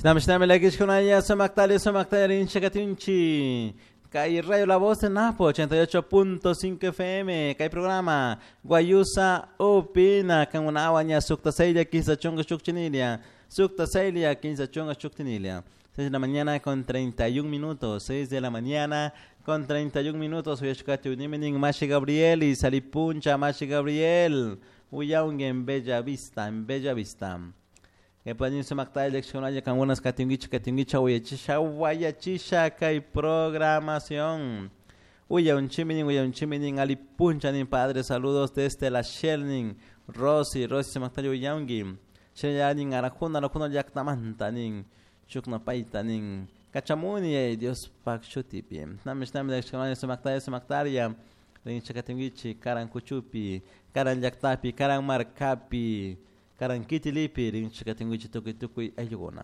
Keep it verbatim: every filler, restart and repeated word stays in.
Shinami lakishkunaya sumaktali sumaktali rinchakatinchi. Kay Radio La Voz de Napo ochenta y ocho punto cinco F M. Kay programa Guayusa Opina. Kangunawa sukta seilia quince chunga chukchinilia. Sukta seilia quince chunga chukchinilia. seis de la mañana con treinta y un minutos. seis de la mañana con treinta y un minutos. Uyashkati uniminin Mashi Gabriel y Salipuncha Mashi Gabriel. Uyaung en Bella Vista, en Bella Vista. Que pueden sumakta eleccionaya con unas katingicha, katingicha, uyachisha, guayachisha, kay programación. Uya un chiminin, uya un chiminin, ali puncha nin padre, saludos desde la Shelnin, Rosy, Rosy sumakta uyaungi. Sheyanin arajuna, arajuna yaktamanta nin, chukna paita nin, kachamuni, ay Dios pak shutipi. Namish nami eleccionaya sumakta sumaktaria, rincha katingichi, karan kuchupi, karan yaktapi, karan markapi. Karan kitilipi, rinchikatinguichi tukuy tukuy ayllukuna.